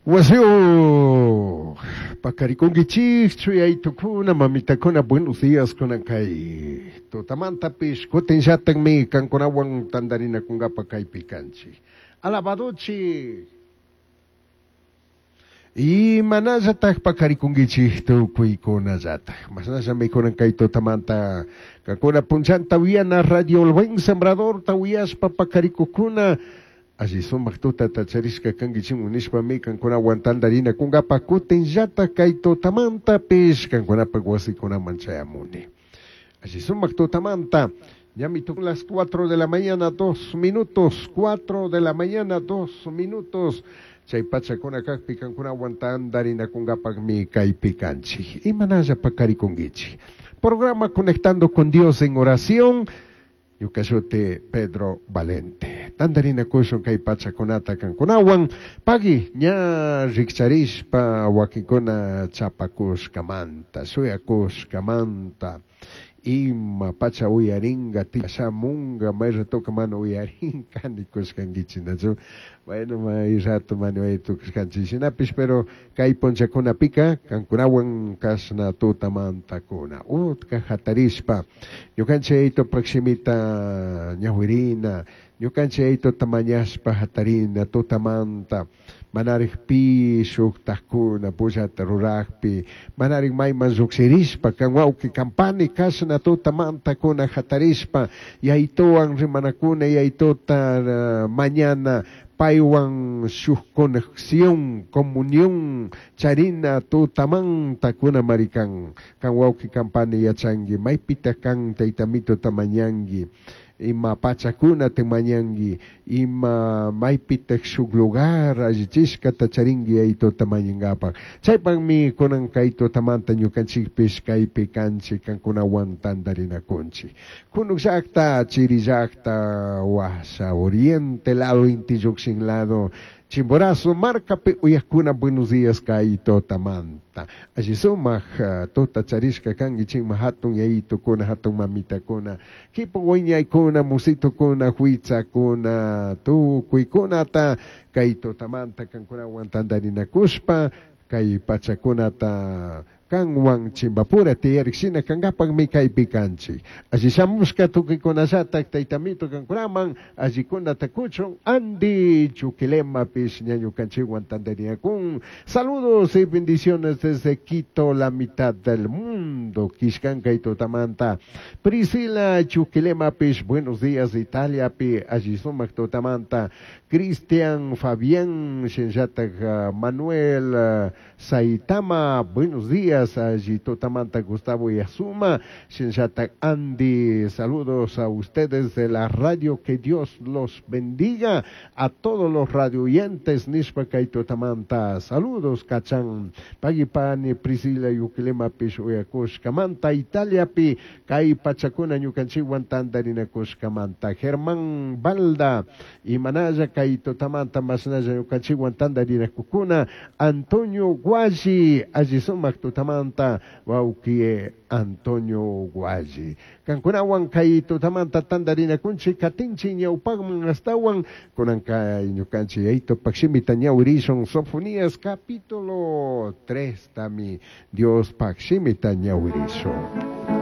Wasiyuq paqarikunkichikchu yaytukuna mamitakuna buenos días kunan kay tutamantapish kutinllatakmi kankunawan tantarinakunkapa kaypi kanchik. Alabadochik. Imanallatak paqarikunkichik tukuykunallatak. Mashnallami kunan kay tutamanta kankuna punchanta uyana Radio El Buen Sembradorta uyashpa paqarikukuna alli sumak tutata charishka kankichikman nishpami kankunawan tantarinakunkapa kutinllatak kay tutamantapish kankunapak wasikunaman chayamuni. Alli sumak tutamanta. Ñami las 4 de la mañana, 2 minutos, 4 de la mañana, 2 minutos. Chay pachakuna kakpi kankunawan tantarinakunkapakmi kaypi kanchik. Imanalla paqarikunkichik. Programa Conectando con Dios en Oración. Ñuka shuti Pedro Valente. Tantarinakushun kay pachakunata kankunawan. Pagui ña rikcharishpa wakinkuna chapakushkamanta, shuyakushkamanta. Ima pacha uyaringa, shamunga, may ratoka mana uyarinka nikushkankichik, nachu? Bueno, may rato mana uyaritukushkanchik shinapish, pero kay punchakunapika kankunawan kashna tutamantakuna. Utka hatarishpa, ñukanchik Yaitopak shimita ñawirina, ñukanchik Yaitota mañashpa hatarina tutamanta, manarik pi shuktajkuna pullata rurakpi, manarik mayman llukshirishpa, kan wawki kampani kashna tutamantakuna hatarishpa, Yaitowan rimanakuna, Yaitota mañana, paywan shuk conexión, comunión, charina tutamanta kuna marikan, kan wawki kampani yachanki, maypita kan taytamitota mañanki, ima pachakuna te mañanki, ima maypitak shuk lugar allichishkata charinki Yaitota mañankapak. Chaypakmi kunan kay tutamanta ñukanchikpish kaypi kanchik kankunawan tantarinakunchik. Kunuk llakta, chiri llakta, washa oriente lado, inti llukshin lado, Chimborazo, markapi uyakuna, buenos días kay tutamanta. Alli sumak tuta charishka kankichikman hatun yayitukuna, hatun mamitakuna, kipu wiñaykuna, musitukuna, huitzakuna, tukuykunata kay tutamanta kankunawan tantarinakushpa, kay pachakunata kanwan chimbapura tiyarik shina kankapakmi kaypi kanchik. Alli shamushka tukuykunallatak taytamito kankunaman allikunata kuchun Andy Chuquilemapish ñañukanchikwan tantarinakun. Saludos y bendiciones desde Quito, la mitad del mundo. Kishkankay tutamanta. Priscila Chuquilemapish, buenos días Italia pi alli sumak tutamanta. Cristian Fabián shinllatak Manuel Saitama, buenos días allí tutamanta. Gustavo Yazuma, shinllatak Andy, saludos a ustedes de la radio, que Dios los bendiga a todos los radio oyentes, nishpa kay tutamanta, saludos kachan, pagipani Priscila Yuquilemapish uyakushkamanta, Italiapi kay pachakuna ñukanchikwan tantarinakushkamanta, Germán Balda, imanalla kay tutamanta mashnalla ñukanchikwan tantarinakukuna, Antonio Guayi, alli sumak tutamanta, wawki Antonio Guayi. Kankunawan kay tutamanta tantarinakunchik katinchik ñawpakman astawan, kunan kay ñukanchik Yaitopak shimita ñawirishun Sofonías capítulo 3 tami Diospak shimita ñawirishun.